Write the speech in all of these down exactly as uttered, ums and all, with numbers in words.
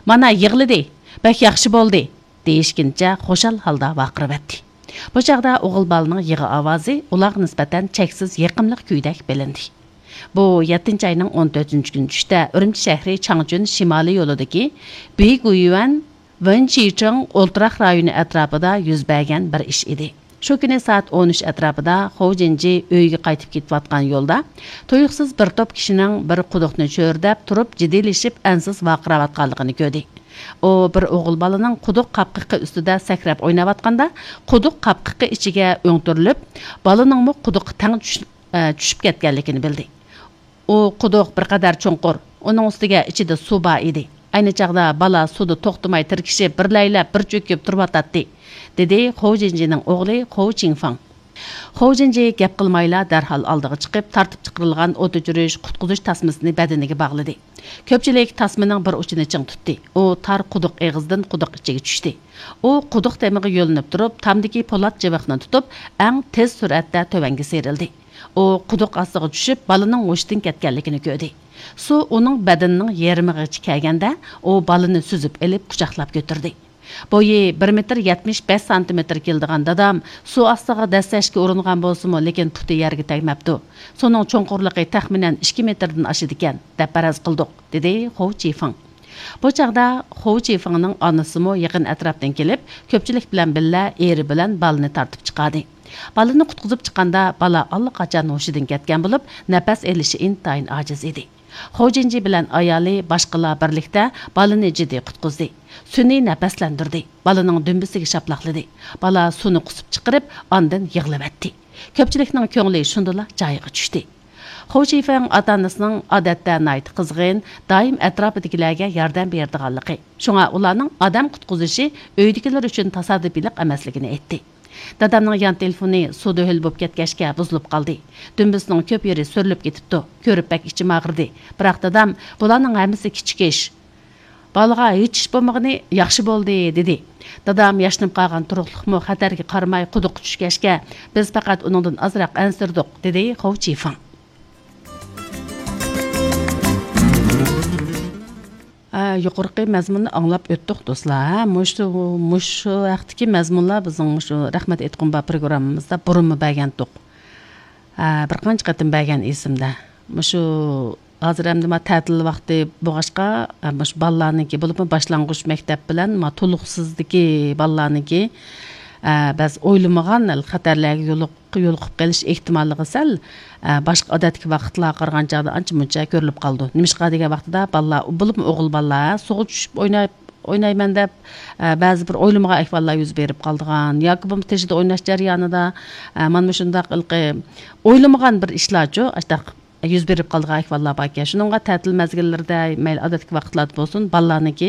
«مانا يىغلىدى، بەك ياخشى بولدى» دېيىشكىنىچە خۇشال ھالدا ۋارقىراۋەتتى. بۇ چاغدا ئوغۇل بالىنىڭ يىغا ئاۋازى ئۇلارغا نىسبەتەن چەكسىز يېقىملىق كۈيدەك بىلىندى. بۇ يەتتىنچى ئاينىڭ ئون تۆتىنچى كۈنى چۈشتە ئۈرۈمچى شەھىرى چاڭجۈن شىمالىي يولىدىكى بىگۇيۈەن ۋېنچىچىڭ ئولتۇراق رايونى ئەتراپىدا يۈز بەرگەن بىر ئىش ئىدى. شۇ كۈنى سائەت ئون ئۈچ ئەتراپىدا خو جىنجى ئۆيىگە قايتىپ كېتىۋاتقان يولدا تۇيۇقسىز بىر توپ كىشىنىڭ بىر قۇدۇقنى چۆرىدەپ تۇرۇپ، جىددىيلىشىپ، ئەنسىز ۋارقىراۋاتقانلىقىنى كۆردى. ئۇ بىر ئوغۇل بالىنىڭ قۇدۇق قاپقىقى ئۈستىدە سەكرەپ ئويناۋاتقاندا، قۇدۇق قاپقىقى ئىچىگە ئۆڭتۈرۈلۈپ، بالىنىڭمۇ قۇدۇققا تەڭ چۈش-، ئە، چۈشۈپ كەتكەنلىكىنى بىلدى. ئۇ قۇدۇق بىر قەدەر چوڭقۇر، ئۇنىڭ ئۈستىگە ئىچىدە سۇ بار ئىدى. ئەينى چاغدا بالا سۇدا توختىماي تىركىشىپ، بىرلەيلەپ بىر چۆكۈپ تۇرۇۋاتاتتى، دېدى خو جىنجىنىڭ ئوغلى خو چىڭفېڭ. خو جىنجى گەپ قىلمايلا دەرھال ئالدىغا چىقىپ، تارتىپ چىقىرىلغان ئوت ئۆچۈرۈش، قۇتقۇزۇش تاسمىسىنى بەدىنىگە باغلىدى. كۆپچىلىك تاسمىنىڭ بىر ئۇچىنى چىڭ تۇتتى. ئۇ تار قۇدۇق ئېغىزىدىن قۇدۇق ئىچىگە چۈشتى. ئۇ قۇدۇق تېمىغا يۆلىنىپ تۇرۇپ، تامدىكى پولات جىۋىقنى تۇتۇپ، ئەڭ تېز سۈرئەتتە تۆۋەنگە سىيرىلدى. ئۇ قۇدۇق ئاستىغا چۈشۈپ، بالىنىڭ ھوشىدىن كەتكەنلىكىنى كۆردى. سۇ ئۇنىڭ بەدىنىنىڭ يېرىمىغىچە كەلگەندە، ئۇ بالىنى سۈزۈپ ئېلىپ، قۇچاقلاپ كۆتۈردى. بويى بىر مېتىر يەتمىش بەش سانتىمېتىر كېلىدىغان دادام سۇ ئاستىغا دەسسەشكە ئۇرۇنغان بولسىمۇ، لېكىن پۇتى يەرگە تەگمەپتۇ. سۇنىڭ چوڭقۇرلۇقى تەخمىنەن ئىككى مېتىردىن ئاشىدىكەن، دەپ پەرەز قىلدۇق، دېدى خو چىفېڭ. بۇ چاغدا خو چىفېڭنىڭ ئانىسىمۇ يېقىن ئەتراپتىن كېلىپ، كۆپچىلىك بىلەن بىللە ئېرى بىلەن بالىنى تارتىپ چىقاردى. بالىنى قۇتقۇزۇپ چىققاندا، بالا ئاللىقاچان ھوشىدىن كەتكەن بولۇپ، نەپەس ئېلىشى ئىنتايىن ئاجىز ئىدى. خو جىنجى بىلەن ئايالى باشقىلار بىرلىكتە بالىنى جىددىي قۇتقۇزدى. سۈنئىي نەپەسلەندۈردى. بالىنىڭ دۈمبىسىگە شاپىلاقلىدى. بالا سۇنى قۇسۇپ چىقىرىپ، ئاندىن يىغلىۋەتتى. كۆپچىلىكنىڭ كۆڭلى شۇندىلا جايىغا چۈشتى. خو چىفېڭ ئاتا-ئانىسىنىڭ ئادەتتە ناھايىتى قىزغىن، دائىم ئەتراپىدىكىلەرگە ياردەم بېرىدىغانلىقى، شۇڭا ئۇلارنىڭ ئادەم قۇتقۇزۇشى ئۆيدىكىلەر ئۈچۈن تاسادىپىيلىق ئەمەسلىكىنى ئېيتتى. دادامنىڭ يان تېلېفونى سۇدا ھۆل بولۇپ كەتكەچكە بۇزۇلۇپ قالدى. دۈمبىسىنىڭ كۆپ يېرى سۈرۈلۈپ كېتىپتۇ. كۆرۈپ بەك ئىچىم ئاغرىدى. بىراق دادام، بۇلارنىڭ ھەممىسى كىچىك ئىش. بالىغا ھېچ ئىش بولمىغىنى ياخشى بولدى، دېدى. دادام ياشىنىپ قالغان تۇرۇقلۇقمۇ خەتەرگە قارىماي قۇدۇققا چۈشكەچكە، بىز پەقەت ئۇنىڭدىن ئازراق ئەنسىرىدۇق، دېدى خو چىفېڭ. ھە، يۇقىرىقى مەزمۇننى ئاڭلاپ ئۆتتۇق، دوستلار. ھە، مۇشۇ، مۇشۇ ھەقتىكى مەزمۇنلار بىزنىڭ مۇشۇ رەھمەت ئېيتقۇم بار پروگراممىمىزدا بۇرۇنمۇ بەرگەنتۇق. ھە، بىر قانچە قېتىم بەرگەن ئېسىمدە. مۇشۇ ھازىر ئەمدى ما تەتىل ۋاقتى بولغاچقا، ھە، مۇشۇ بالىلارنىڭكى، بولۇپمۇ باشلانغۇچ مەكتەپ بىلەن ما تولۇقسىزدىكى بالىلارنىڭكى، ھە، بەزى ئويلىمىغان خەتەرلەرگە يولۇق-، يولۇقۇپ قېلىش ئېھتىماللىقى سەل، ئە، باشقا ئادەتتىكى ۋاقىتلارغا قارىغاندا ئانچە مۇنچە كۆرۈلۈپ قالىدۇ. نېمىشقا دېگەن ۋاقتىدا بالىلار، بولۇپمۇ ئوغۇل بالىلار سۇغا چۈشۈپ ئويناپ، ئوينايمەن دەپ، ئە، بەزى بىر ئويلىمىغان ئەھۋاللار يۈز بېرىپ قالىدىغان ياكى بولمىسا تېشىدا ئويناش جەريانىدا، ئە، مانا مۇشۇنداق ھېلىقى ئويلىمىغان بىر ئىشلارچۇ، ئاشۇنداق يۈز بېرىپ قالىدىغان ئەھۋاللار باركەن. شۇنىڭغا تەتىل مەزگىللىرىدە، مەيلى ئادەتتىكى ۋاقىتلاردا بولسۇن، بالىلارنىڭكى،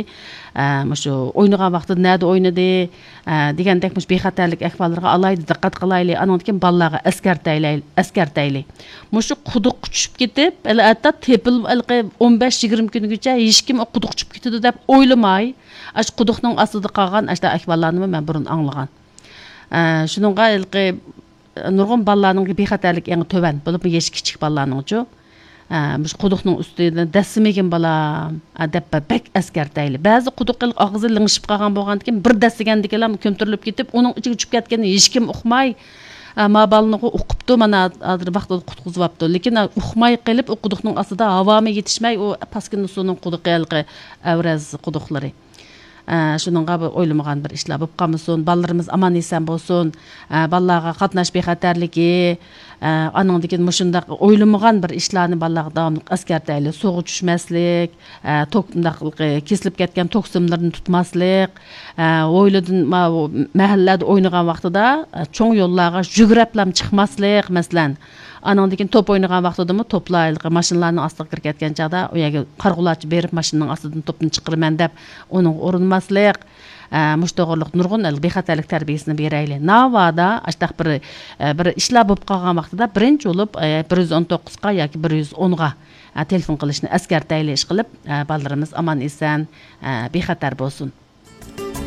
ئە، مۇشۇ ئوينىغان ۋاقتىدا نەدە ئوينىدى، ئە، دېگەندەك مۇشۇ بىخەتەرلىك ئەھۋاللىرىغا ئالاھىدە دىققەت قىلايلى. ئانىڭدىن كېيىن بالىلارغا ئەسكەرتەيلى، ئەسكەرتەيلى. مۇشۇ قۇدۇققا چۈشۈپ كېتىپ، ھېلى ھەتتا تېپىل-، ھېلىقى ئون بەش يىگىرمە كۈنگىچە ھېچكىم ئۇ قۇدۇققا چۈشۈپ كېتىدۇ دەپ ئويلىماي، ئاشۇ قۇدۇقنىڭ ئاستىدا قالغان ئاشۇنداق ئەھۋاللارنىمۇ مەن بۇرۇن ئاڭلىغان. ئە، شۇنىڭغا ھېلىقى نۇرغۇن بالىلارنىڭ بىخەتەرلىكى ئەڭ تۆۋەن، بولۇپمۇ يېشى كىچىك بالىلارنىڭچۇ. ئە، مۇشۇ قۇدۇقنىڭ ئۈستىدىن دەسسىمىگىن بالام، ئە، دەپ بەك ئەسكەرتەيلى. بەزى قۇدۇق ھېلىقى ئاغزى لىڭشىپ قالغان بولغاندىكىن بىر دەسسىگەندىكىنلا كۆمتۈرۈلۈپ كېتىپ، ئۇنىڭ ئىچىگە چۈشۈپ كەتكىنىنى ھېچكىم ئۇقماي، ئە، ما بالىنىغۇ ئۇقۇپتۇ، مانا ھازىر ۋاقتىدا قۇتقۇزۇۋاپتۇ. لېكىن، ئە، ئۇقماي قېلىپ، ئۇ قۇدۇقنىڭ ئاستىدا ھاۋامۇ يېتىشمەي، ئۇ پاسكىنا سۇنىڭ قۇدۇقى ھېلىقى ئەۋرەز قۇدۇقلىرى. ئە، شۇنىڭغا بۇ ئويلىمىغان بىر ئىشلار بولۇپ قالمىسۇن، بالىلىرىمىز ئامان ئېسەن بولسۇن، ئە، بالىلارغا قاتناش بىخەتەرلىكى، ئە، ئانىڭدىن كېيىن مۇشۇنداق ئويلىمىغان بىر ئىشلارنى بالىلارغا داۋاملىق ئەسكەرتەيلى. سۇغا چۈشمەسلىك، ئە، توك-، مۇنداق، ئە، كېسىلىپ كەتكەن توك سىملىرىنى تۇتماسلىق، ئە، ھويلىدىن، ما-، مەھەللىلەردە ئوينىغان ۋاقتىدا، ئە، چوڭ يوللارغا يۈگۈرەپلام چىقماسلىق، مەسىلەن. ئانىڭدىن كېيىن توپ ئوينىغان ۋاقتىدىمۇ توپلار ھېلىقى ماشىنىلارنىڭ ئاستىغا كىرىپ كەتكەن چاغدا، ئۇ يەرگە قارىغۇلارچە بېرىپ، ماشىنىنىڭ ئاستىدىن توپنى چىقىرىمەن دەپ، ئۇنىڭغا ئۇرۇنماسلىق، ئە، مۇشۇ توغرىلىق نۇرغۇن بىخەتەرلىك تەربىيەسىنى بېرەيلى. ناۋادا ئاشۇنداق بىر، ئە، بىر ئىشلار بولۇپ قالغان ۋاقتىدا بىرىنچى بولۇپ، ئە، بىر يۈز ئون توققۇزغا ياكى بىر يۈز ئونغا، ئە، تېلېفون قىلىشنى ئەسكەرتەيلى، ئىشقىلىپ، ئە، بالىلىرىمىز ئامان ئېسەن، ئە، بىخەتەر بولسۇن.